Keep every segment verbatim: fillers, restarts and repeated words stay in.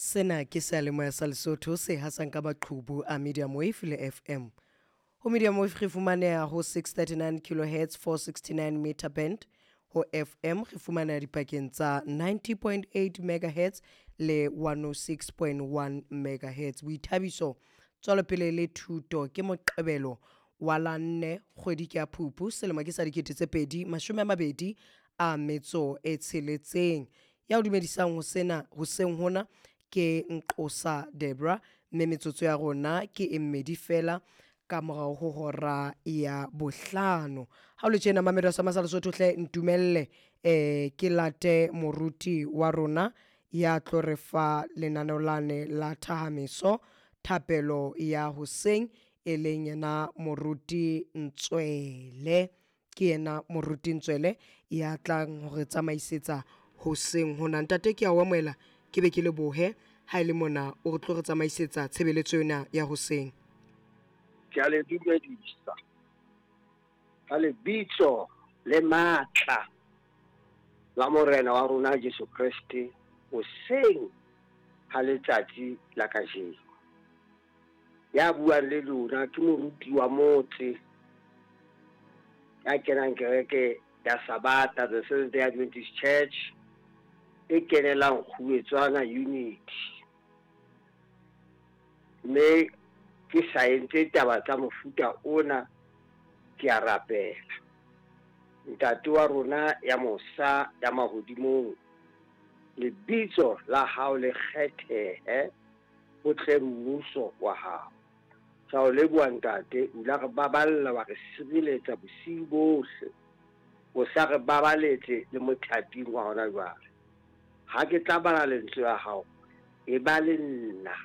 Sena ke seyalemoya sa Lesotho se hasang ka maqhubu a medium wave le F M. Ho medium wave re fumaneha ho six thirty-nine kilohertz, four sixty-nine meter band. Ho F M re fumaneha dipakeng tsa ninety point eight megahertz le one oh six point one megahertz. Boithabiso, tswelopele le thuto. Ke Moqebelo wa la nne, kgwedi ke ya Phupu, selemo ke sa dikete tse pedi mashome a mabedi a metso e tsheletseng. Ya o dumedisang ho sena hoseng hona ke Nqosa Debra, mme metsotso ya rona ke e mmedi fela ka morao ho hora ya bohlano. Ha o le tjena, mamedo sa masa Lesotho, hle ntumelle eh ke late moruti wa rona ya tlo re fa lenaneo lane la thahamiso, thapelo ya hoseng, e leng yena Moruti Ntswele. Ke yena Moruti Ntswele ya tlang hore tsamaisetsa hoseng hona. Ntate, ke a o amohela, ke be ke lebohe ha e le mona o re tlo re tsamaisetsa tshebeletso ena ya hoseng. Ke a le dumedisa ka lebitso le matla la Morena wa rona Jesu Kreste hoseng ha letsatsi la kajeno. Ya buang le lona ke moruti wa motse ya kenang kereke ya Sabata, the Seventh Day Adventist Church, e kenelang Kguetswana Unity. Mme ke sa entse taba tsa mofuta ona, ke a rapela. Ntate wa rona ya mosa ya mahodimong, lebitso la hao le kgethehe, ho tle mmuso wa hao. Sa o leboha, ntate, o ile re baballa, wa re sireletsa bosiu bohle, o sa re babaletse le mothating wa hona jwale. Ha ke tla bala lentswe la hao, e ba le nna,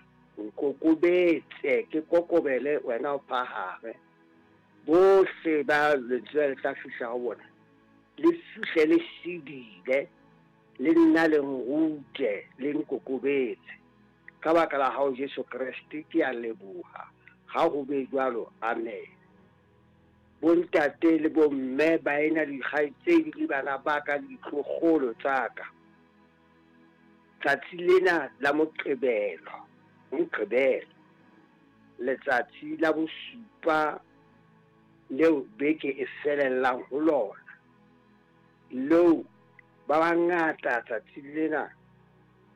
nkokobetse, ke kokobele, wena o phahame. Bohle ba lentswe le tla fihla ho bona le fihle le sedile, le nna le nrute, le nkokobetse ka baka la hao Jesu Kreste. Ke a leboha, ha ho be jwalo, amen. Bontate le bomme, baena, dikgaitsedi le bana ba ka, ditloholo tsa ka, tsatsi lena la Moqebelo, Moqebelo, letsatsi la bosupa leo beke e felellang ho lona, leo ba bangata tsatsi lena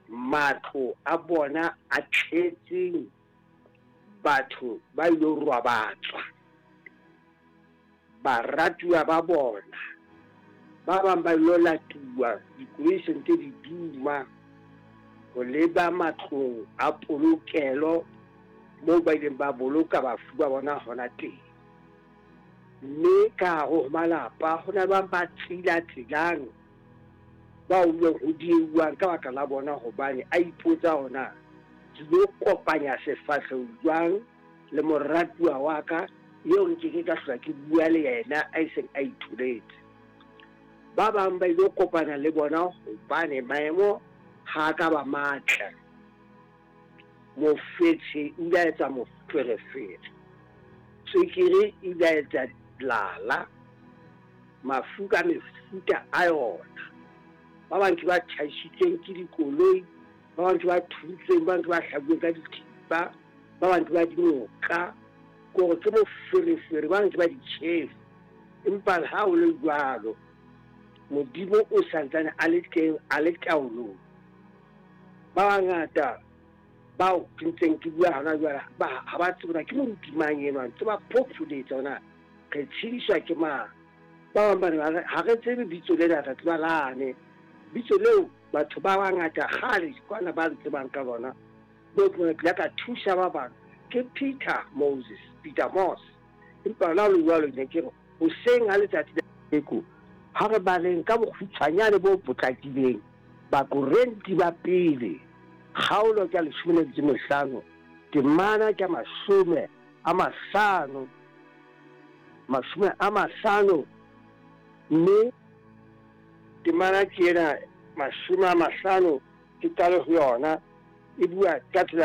matlo a bona a tletseng batho ba ilo robatswa, baratuwa ba bona. Ba bang ba ilo latuwa, dikoloi se ntse di duma ho leba matlong a polokelo moo ba ileng ba boloka bafu ba bona hona teng. Mme ka hare ho malapa ho na bang ba tsila-tsilang, ba utlwang ho dieuwang ka baka la bona, hobane a ipotsa hona ke lo kopanya sefahleho jwang le moratuwa wa ka eo nkeke ka hlola ke bua le yena a seng a itholetse. Ba bang ba ilo kopana le bona hobane maemo ha ka ba matle, mofetshe o ile a etsa moferefere, tswekere e ile a etsa lala, mafu ka mefuta a yona. Ba bang ke ba tjhaisitsweng ke dikoloi, ba bang ke ba thuntsweng, ba bang ke ba hlabuweng ka dithipa, ba bang ke ba dinoka, kore ke moferefere, ba bang ke ba ditjhefu. Empa le ha ho le jwalo, Modimo o santsane a le teng, a le taolong. Ba bangata bao ke ntseng ke bua hona jwale ba ha ba tsebe hore ke moruti mang enwa, ntse ba phopholetsa hore na re tshediswa ke mang. Ba bang ba re ha re tsebe bitso lena, re tseba lane bitso leo batho ba bangata kgale kwana ba ntsebang ka lona, bo ke ile ka thusa ba bang, ke Peter Moses, Peter Moss. Empa la le jwalo, ne ke re hoseng ha letsatsi la eko, ha re baleng ka bokgutshwanyane bo potlakileng Bakorenti ba Pele, kgaolo ke ya leshome le metso e mehlano, temana ke mashome a mahlano, mashome a mahlano, mme temana ke ena, mashome a mahlano, ke qale ho yona, e bua ka tsela.